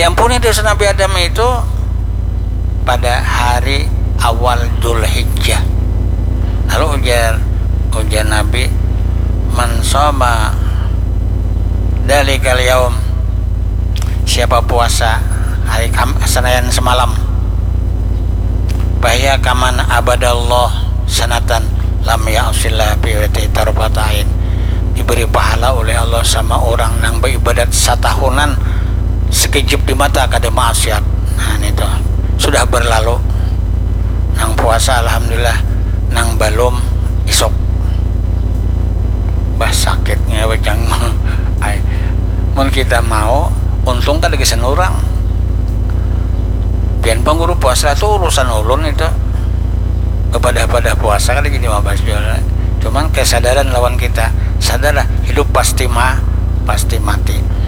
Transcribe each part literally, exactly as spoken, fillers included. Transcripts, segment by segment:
Diampuni dosa Nabi Adam itu pada hari awal Dzulhijjah. Lalu ujar, ujar Nabi, "Man shoma dzalikal yaum," siapa puasa hari Kam-, Senayan semalam, "fahuwa kaman abadallah sanatan lam ya'sillah fi tarfata ain," diberi pahala oleh Allah sama orang nang beribadat satahunan sekejap di mata kada maksiat. Nah, ini tuh sudah berlalu. Nang puasa alhamdulillah, nang balum isuk. Bah, sakitnya bacang. Ai, mun kita mau, untung kada gasan urang. Pian pang guru puasa tu urusan ulun itu. Bepadah-padah puasa kada jadi mabahas jua. Cuman kesadaran lawan kita, sadarlah hidup pasti ma-, pasti mati.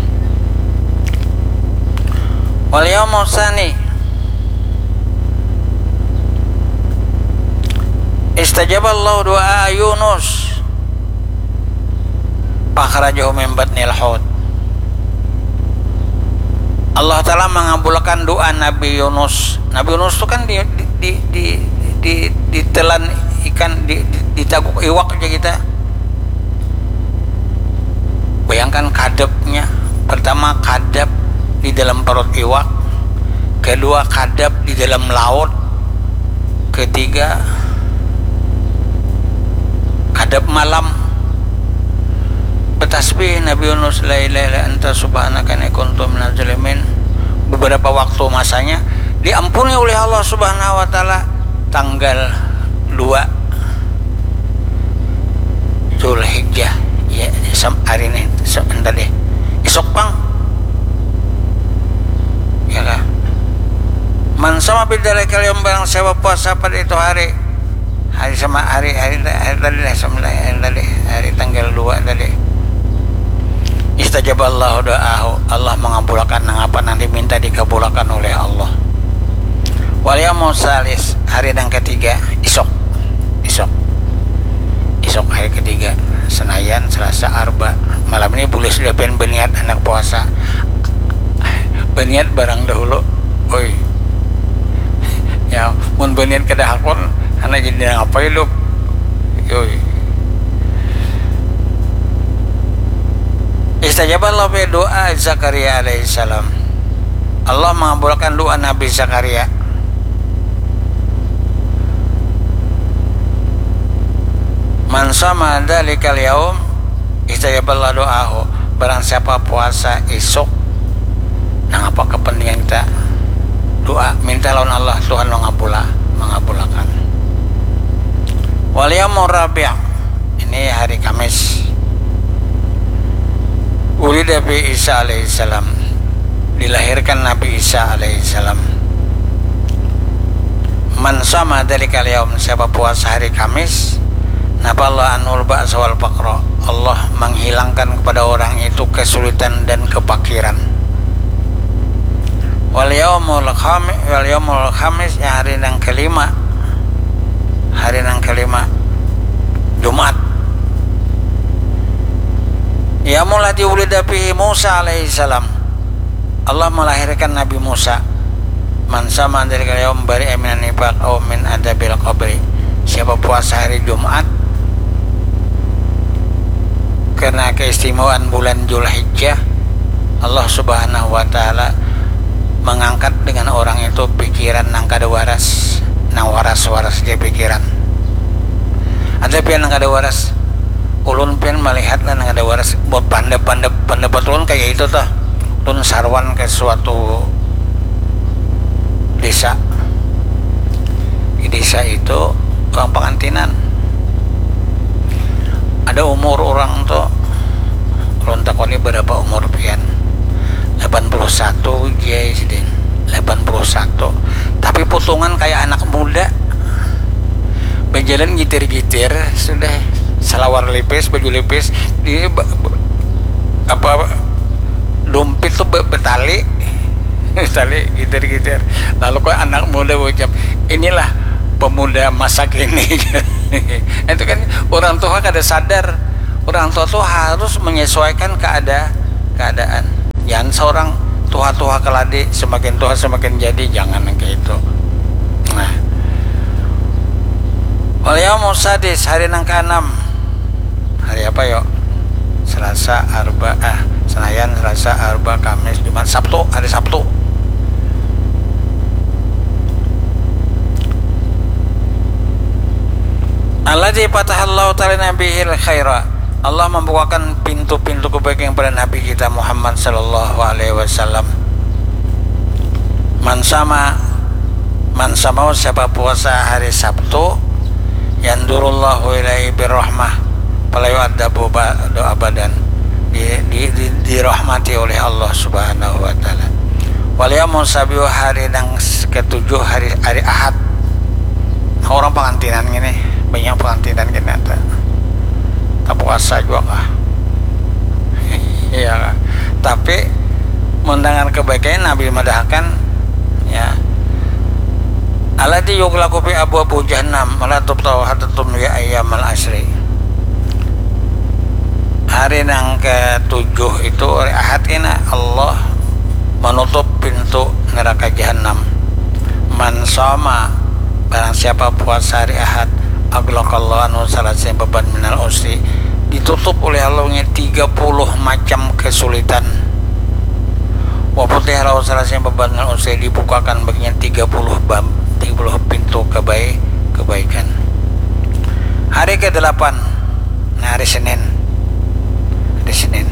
Wal yaumul tsani istajaballahu du'a Yunus. Fakhrajahu min batnil hut. Allah Ta'ala mangabulakan doa Nabi Yunus. Nabi Yunus tu kan di, di, di, di, di, ditelan ikan, di, di, ditaguk iwak aja kita. Bayangkan kadapnya. Pertama kadap di dalam perut iwak. Kedua kadap di dalam laut. Ketiga, kadap malam. Betasbih Nabi Yunus, "La ilaha illa anta subhanaka inni kuntu minaz zalimin." Beberapa waktu masanya diampuni oleh Allah Subhanahu wa Ta'ala tanggal dua Zulhijjah. Ya, sam-, hari ini, sam-, entah deh. Isuk pang. Ya kah? Man sama bidalika yaum, barang siapa puasa pada itu hari. Hari sama hari, hari, hari tadi lah, sama hari tadi, hari tanggal dua tadi. Istajaballahu doahu, Allah mengabulakan nang apa nang diminta dikabulakan oleh Allah. Wal yaumul tsalis, hari nang ketiga, isuk. Isuk. Isuk hari ketiga, Senayan, Selasa, Arba. Malam ini boleh sudah pian berniat handak puasa. Berniat barang dahulu. Oi. Ya, mun berniat kada hakun, handak jadi nang apa hidup? Yoi. Istajaballahu fi doa Zakaria alaihissalam. Allah mengabulkan doa Nabi Zakaria. Man sama dalikal yaum istajaballah doahu. Barang siapa puasa isuk, nang apa kepentingan kita, doa, minta lawan Allah, Tuhan mengabula, mengabulakan. Wal yaumur rabi', ini hari Kamis. Ulida fi Isa alaihissalam, dilahirkan Nabi Isa alaihissalam. Man sama dalikal yaum, siapa puasa hari Kamis, napa Allah anul ba'sa wal faqra, Allah menghilangkan kepada orang itu kesulitan dan kepakiran. Wal yaumul khami-, wal yaumul khamis, yang hari yang kelima, hari yang kelima, Jumat. Yaumul ladzi wulida fihi Musa alaihissalam, Allah melahirkan Nabi Musa. Man sama dalikal yaum bari'a minan nifaq au min adzabil qabri. Siapa puasa hari Jumat, karena keistimewaan bulan Julhijjah, Allah Subhanahu wa Ta'ala mengangkat dengan orang itu pikiran nang kada waras, nang waras-waras dia pikiran. Ada pian nang kada waras, ulun pian melihat lah nang kada waras, buat pandap-pandap, pendapat ulun kayak itu tuh. Ulun saruan ke suatu desa. Di desa itu orang pengantinan. Ada umur orang tuh, ulun takoni berapa umur pian. Delapan puluh satu, jai sidin. Delapan puluh satu. Tapi putungan kayak anak muda. Berjalan gitir-gitir, sudah salawar lipis, baju lipis, di ba-, ba-, apa, dompet tuh be-, betali. Betali gitir-gitir. Lalu kok anak muda ucap, "Inilah pemuda masa kini." Itu kan orang tua kada sadar. Orang tua tuh harus menyesuaikan keada-, keadaan. Jangan seorang tuha-tuha keladi, semakin tuha semakin jadi, jangan yang kayak itu. Nah, wal yaumus sadis, hari nang keenam. Hari apa yo? Selasa, Arba, ah, Senayan, Selasa, Arba, Kamis, Jumat, Sabtu, hari Sabtu. Alladzi fatahallahu ta'ala bihil khaira. Allah membukakan pintu-pintu kebaikan kepada Nabi kita Muhammad sallallahu alaihi wasallam. Man sama, man sama, siapa puasa hari Sabtu, yandurullahu ilaihi birrahmah, fala yu'adzabu ba'du abadan. Di, di, di, dirahmati oleh Allah Subhanahu wa taala. Wal yaumus sabiu, hari nang ketujuh, hari, hari Ahad. Nah, orang pengantinan gini, banyak pengantinan gini ada. Tak puasa juga kah? Iya kah? Tapi mendengar kebaikannya Nabi madahkan, ya, alladzi yughlaqu fi abwabu jahannam wala tuftahu hatta tumdi ayyamal asri. Hari nang ketujuh itu, hari Ahad ini, Allah menutup pintu neraka jahannam. Man sama, barang siapa puasa hari Ahad, aghlaqallahu anhu salasina baban minal usri, ditutup oleh Allah nya tiga puluh macam kesulitan. Wa futiha lahu salasina baban minal usri, dibukakan baginya tiga puluh bab, tiga puluh pintu kebaik, kebaikan. Hari kedelapan, nah, hari Senin. Hari Senin.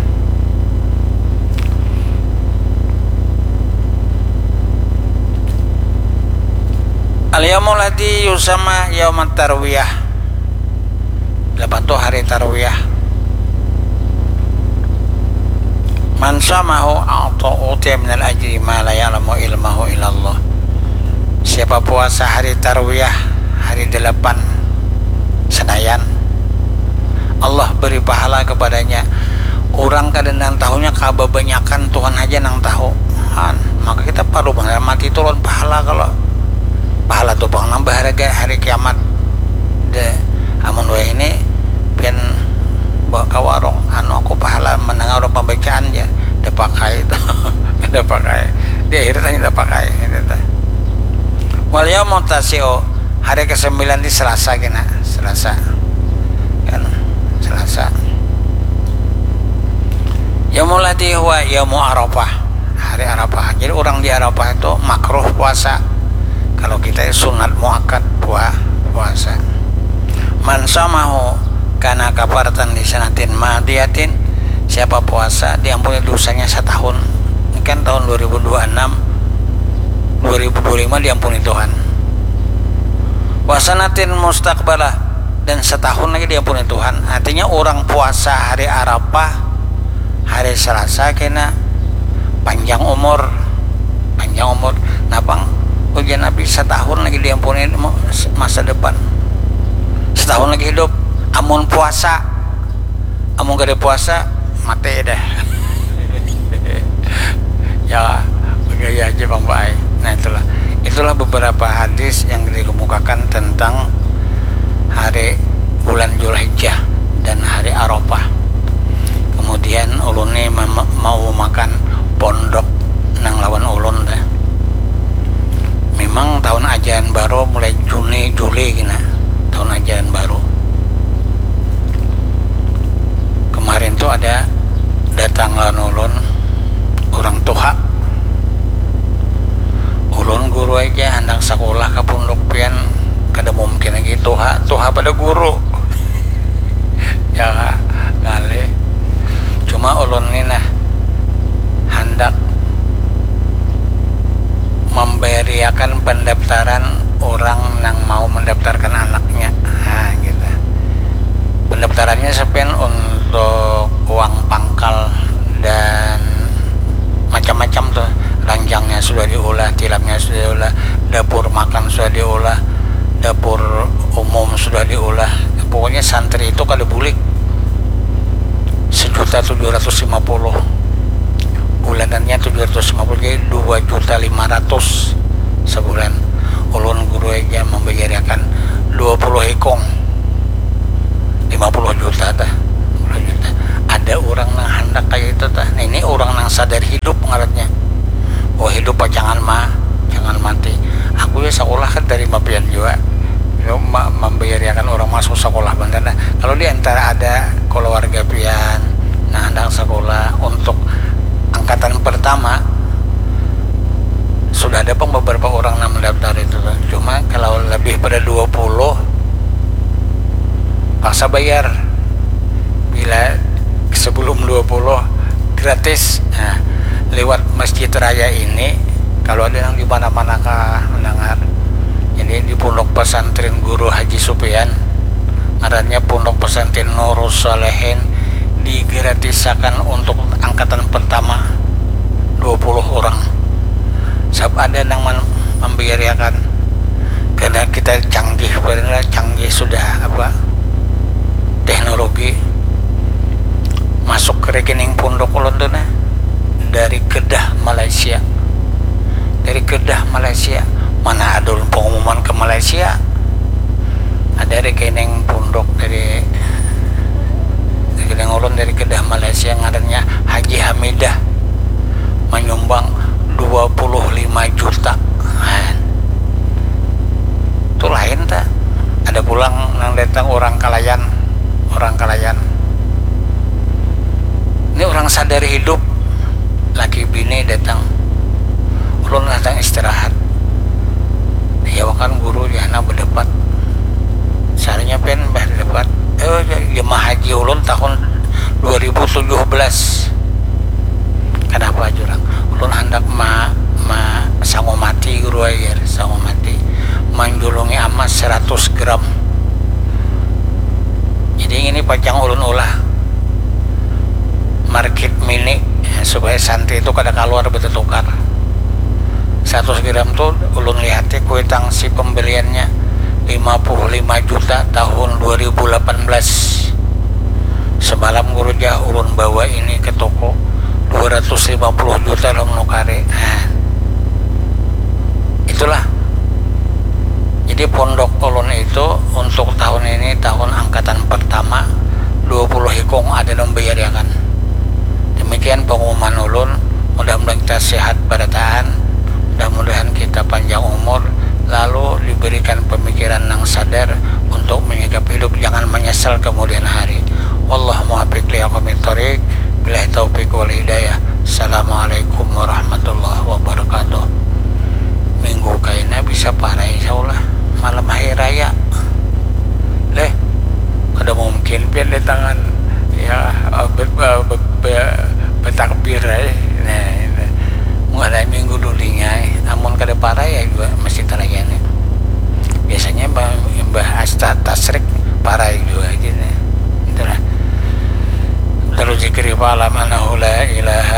Al yaumul ladzi yusama yaumat tarwiyah. Delapan tu hari tarwiyah. Man samahu a'ta utiya minal ajri ma la ya'lamu ilmahu illallah. Siapa puasa hari tarwiyah, hari delapan Senayan, Allah beri pahala kepadanya. Urang kada nang tahunya kababanyakan, Tuhan haja nang tahu. Han, maka kita parlu banar mati tu lawan pahala. Kalau pahala tu pang nang baharga hari kiamat. De, amun wayah ini pian bawa ka warung, anu, aku pahala mendengar urang pambacaan ja, da pakai tu. Da pakai. Di akhirat hanya da pakai, gitu tuh. Wal yaumut tasi'u, hari kesembilan di Selasa kena, Selasa. Kan, Selasa. Yaumul ladzi huwa yaumu Arafah, hari Arafah. Jadi, orang di Arafah itu makruh puasa. Kalau kita sunat muakkad pua-, puasa. Man samahu kana kafaratan li sanatin madiyatin, siapa puasa diampuni dosanya setahun. Ini kan tahun dua ribu dua puluh enam, dua ribu dua puluh lima diampuni Tuhan. Wa sanatin mustaqbalah, dan setahun lagi diampuni Tuhan. Artinya, orang puasa hari Arafah, hari Selasa kena, panjang umur, panjang umur. Napang ujar Nabi, setahun lagi diampuni mo-, masa depan, setahun lagi hidup, amun puasa. Amun kada puasa, mati dah. Ya, begaya aja, Bang Baai. Nah, itulah. Itulah beberapa hadis yang dikemukakan tentang hari bulan Zulhijjah dan hari Arafah. Kemudian, ulun ni mem-, mau makan pondok nang lawan ulun dah. Memang tahun ajaran baru mulai Juni, Juli kena. Tahun ajaran baru. Kemarin tu ada datang lawan ulun urang tuha. Ulun guru aja, handak sakulah ka punduk pian, kada mungkin lagi tuha, tuha pada guru. Ya, ngalih. Cuma ulun ni nah, handak mambariakan pendaftaran urang nang mau mendaftarkan anaknya. Nah, gitu. Pendaftarannya sapian untuk uang pangkal dan macam-macam tuh. Ranjangnya sudah diulah, tilapnya sudah diulah, dapur makan sudah diulah, dapur umum sudah diulah. Pokoknya santri itu kada bulik sejuta tujuh ratus lima puluh. Bulanannya tujuh ratus lima puluh, jadi dua juta lima ratus sebulan. Ulun guru aja membayariakan dua puluh ikung, lima puluh juta tah, lima puluh juta. Ada orang nang handak kayak itu tah. Nah, ini orang nang sadar hidup ngarannya. masuk sekolah bantar. Nah, kalau di antara ada keluarga pian nang handak sekolah untuk angkatan pertama, sudah ada pang beberapa orang nang mendaftar itu. Cuma kalau lebih pada dua puluh, paksa bayar. Bila sebelum dua puluh, gratis. Nah, lewat Masjid Raya ini, kalau ada yang di mana-mana kah mendengar, jadi di Pondok Pesantren Guru Haji Supian, ngarannya Pondok Pesantren Nurus Salehin, digratisakan untuk angkatan pertama dua puluh orang. Sabab ada nang man- membiayaakan, karena kita canggih, karena canggih sudah apa, teknologi. Masuk ke rekening pondok ulun tu nah dari Kedah, Malaysia. Dari Kedah, Malaysia. Mana ada ulun pengumuman ke Malaysia? Ada rekening pondok dari rekening ulun dari Kedah, Malaysia, ngarannya Haji Hamidah, menyumbang dua puluh lima juta. Nah, tu lain ta. Ada pulang nang datang orang Kalayan, orang Kalayan. Ini orang sadar hidup, laki bini datang. Ulun datang istirahat. Ya, wakan guru di sana berdebat. Sarinya pian berdebat. Eh, jemaah haji ulun tahun dua ribu tujuh belas. Kenapa jurang? Ulun handak ma, ma sangu mati, guru ai, jar, sangu mati. Manjulungi amas seratus gram. Jadi ini pacang ulun ulah market mini, ya, supaya santri itu kada kaluar bertukar. Seratus gram tu ulun lihati kuitang si pembeliannya lima puluh lima juta tahun dua ribu lapan belas. Semalam guru, jar, ulun bawa ini ke toko, dua ratus lima puluh juta lah menukari. Nah, itulah. Jadi pondok ulun itu untuk tahun ini tahun angkatan pertama, dua puluh ikung ada nang bayariakan. Demikian pengumuman ulun. Mudah-mudahan kita sehat barataan, mudah-mudahan kita panjang umur, lalu diberikan pemikiran nang sadar untuk menyikapi hidup, jangan menyesal kemudian hari. Wallahu muwaffiq li aqwamit thoriq. Billahi taufiq wal hidayah. Assalamualaikum warahmatullahi wabarakatuh. Minggu kaina bisa parai, insyaallah, malam hari raya. Leh, kada mungkin pian datangan, ya, eh, be, be, be, be, betakbir ai. Nah, ini. Mulai minggu dulinya, eh. Amun kada parai ya juga masih tarayani. Biasanya bah, bah asta tasrik parai juga aja nih. Itulah. Terus zikri fa'lam annahu la ilaha